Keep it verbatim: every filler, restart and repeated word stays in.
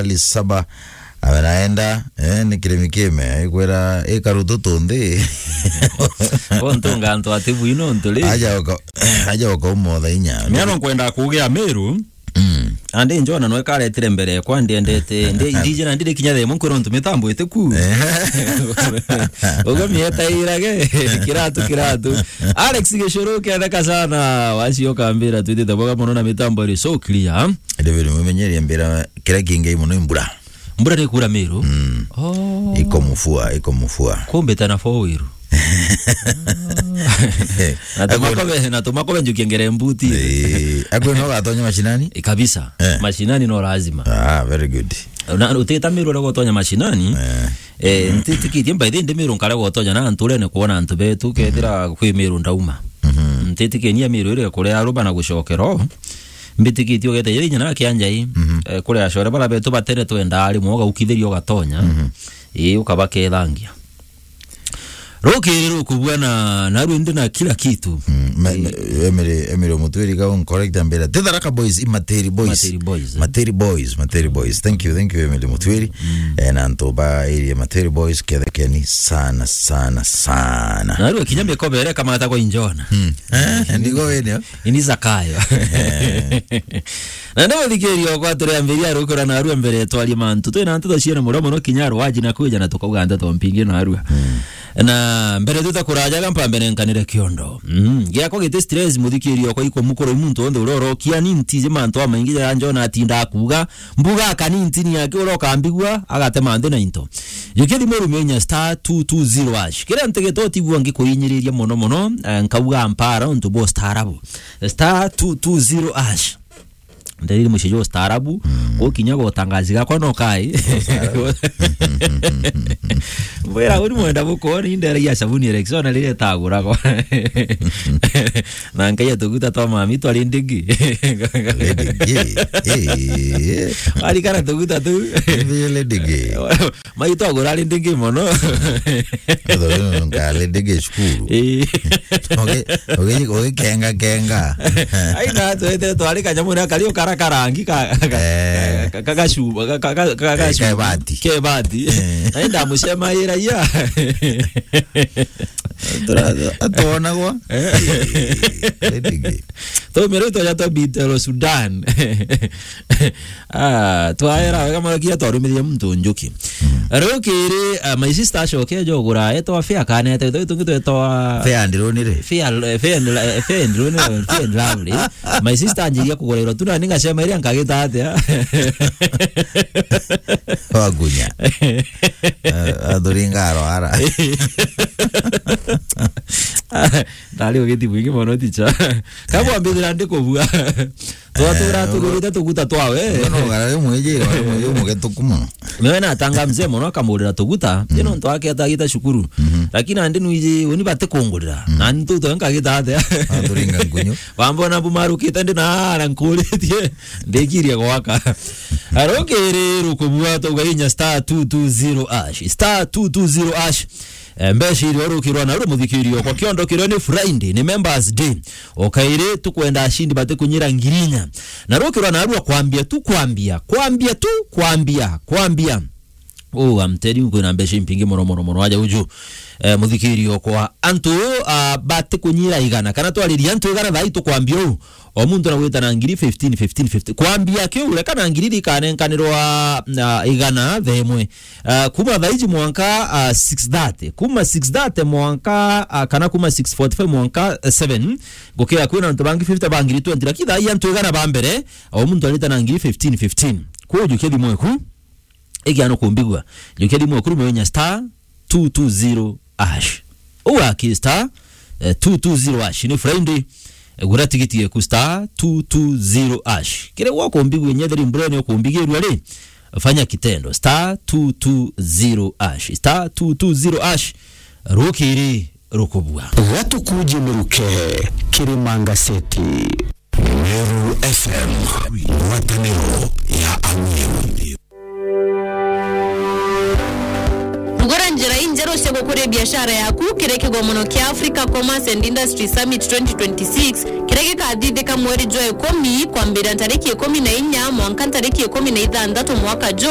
Charles Saba, amenaenda, eh, ni kirimi kime, ikwira ikarutu tunthi. Ontunga antu ati bwino ntu ri. Aja uka-, aja ukaumotha inya. Miano nkwenda kugia Miru. Mm. Andi Njona nwe karetire mbere kwa ndiendete, ndi, ndije na ndiri kinya themo nkwira ntu mitambo itiku. Eh. Ugo mieta irage, kiratu, kiratu. Alex Gicuru, ketheka sana, wacio kambira, twitite boga mono na mitambo iri so clear. David Mumenyeri ambira, kira kingi mono imbura. Mbura ni kura Miru? Mm. Oh. Iko mfua, iko mfua. Kumbe tana fo wiru. Na tumakobe, na tumakobe njukia ngere mbuti. Eh, akwe no gatonya mashinani? Eh, kabisa. Eh. Mashinani no lazima. Ah, very good. Na utita Miru uria gotonya mashinani. Eh. Eh, ntitikitie by the way, ndi Miru nkare gotonya na antu urene kuona antu betu, kethira kwi Miru ndauma. Mhm. Ntitikenia Miru ire kuria aruba na gucokera o. Mbitikitie ugete yiri nyina kia njai. Mhm. Eh, kuria acore bara betu batene twenda ari mwoga ukithiria ugatonya. Mhm. Ii, ukabakethangia. Rukiri rukubua na, narua ndi na kila kitu. Mm, me-, me-, Emily, Emily Omutwiri ga un correct ambira. Ti Tharaka Boys, i Materi Boys. Materi Boys, eh. Materi Boys, Materi Boys. Thank you, thank you, Emily Mutwiri. Mm. Eh, na antu ba area Materi Boys, kethekeni sana, sana, sana. Narua kinya mikobere kamata kwa injona. Mm. Eh, ndigo wene. Ini Zakayo. Eh. Na ndi muthikiria okwa turiambiria rukura narua mbere twarie mantu. Twina nteto ciene muria muno kinya rwaji na kwija na tukauga nteto mpingi narua. Mm. Na mbere tutakurajaga mpambe nenkanire kiondo. Mm. Giakwa giti stress muthikiria okwa iko mukuru muntu onthe uria urokia ni ntiji mantu amaingi ja Njona atinda akuga. Mbuga akani ntini yake uria ukambigua agatema nthi na into. Jukia thimu urumie inya star two two zero hash. Kiria ntegete utigua ngikuinyiriria muno muno, eh, nkauga mpara untu bwa ustaarabu. Star two two zero hash. Nderiri mucii jwa ustaarabu, mm, gukinya gutangazi gakwa no kai. Mbwira uri mwenda buko ni ndera ya sabuni Rexona riria itaguragwa. Na nkaia tuguta twa mami twari ndigi. Lady G. Eh. Arikana tuguta tu. Lady G. Mai twagura ari ndingi mono. Nka Lady G cukuru. Eh. Ogi-, ogi-, ogikenga kenga. Ai na twete twari kanyamu na kari ukara karangi ka, ka, eh, ka, ka, gacuba, ka, ka, ka, ka, eh, gacuba. Kebati. Kebati. Eh. Ai ndamucemaira iya. Tura-, atuonagwa. Eh. Lady G. Tumire twaja twa Bitero Sudan. Ah, twaera wega mono kinya twarumirie muntu njuki. Mm. Riu kiri, ah, my sister acoke aja ugura etwa Fair kanete, twi tungi twetwa Fair and Lonely. Fair, eh, Fair and Lo-, eh, Fair and Lonely, Fair and Lovely. My sister anjiria kugura iro tu na ningacema iria nkagita atia. Wagunya. Eh, athuringa arwara. Ndari ugiti mwingi mono ticha. Kabwambithira ndi kubua. Twatura, eh, tugurite tuguta twawe. Mbona ugara ri mwiji, ri mwiji mugetuku muno. Niwe natanga mzee mono akamurira tuguta, mm, tino ntu ake atagita cukuru. Mhm. Lakini andi nwiji, uni bati kungurira. Mm. Na ntu twe nkagita atia. Aturinga nkunyu. Bambona bumarukite ndi na ara nkuritie, ndikirie gwaka. Arukiri rukubua tugainya star two two zero hash. Star two two zero hash. Eh, mbeca iria urukirwa na uri muthikirio kwa kiondo kiria ni Friday, ni members day. Okairi tukwenda ashindi bati kunyira ngirinya. Na rukirwa na arua kwambia tu, kwambia, kwambia tu, kwambia, kwambia. Oh, I'm telling you, kwina mbeca impingi mono, mono, mono, aja uju. Eh, muthikirio kwa antu, ah, bati kunyira igana. Kana twariria antu igana thai tukwambia u. O muntu na gwita na ngiri fifteen, fifteen, fifteen. Kwambia kiu, reka na ngiri ikanenkanirwa, ah, igana themwe. Ah, kuma thaiji mwanka, ah, six thirty. Kuma six thirty mwanka, ah, kana kuma six forty-five mwanka, eh, seven. Gukira kwina antu bangi fifty ba ngiri twenty. Lakini thai antu igana ba mbere, o muntu arita na ngiri fifteen, fifteen. Kuu jukia thimu eku. Igia no kumbigua. Jukia thimu eku rume wenya star two two zero hash. Uga ki star, eh, two two zero hash. Ni Friday. Eh, gura tigiti yeku star two two zero hash. Kire gwa kumbigua nyetheri mbura ni ukumbigirua ri. Fanya kitendo. Star two two zero hash. Star two two zero hash. Rukiri rukubua. Gatukuje miruke kiri Manga City. Meru F M, ngwataniro ya Ameru. Gura njira injeru cia gukuria biashara yaku kiri kigomono kia Africa Commerce and Industry Summit twenty twenty-six, kiria gikathithika mweri jwa ikumi, kwambira ntariki ikumi na inya mwanka ntariki ikumi na ithanthatu mwaka ju.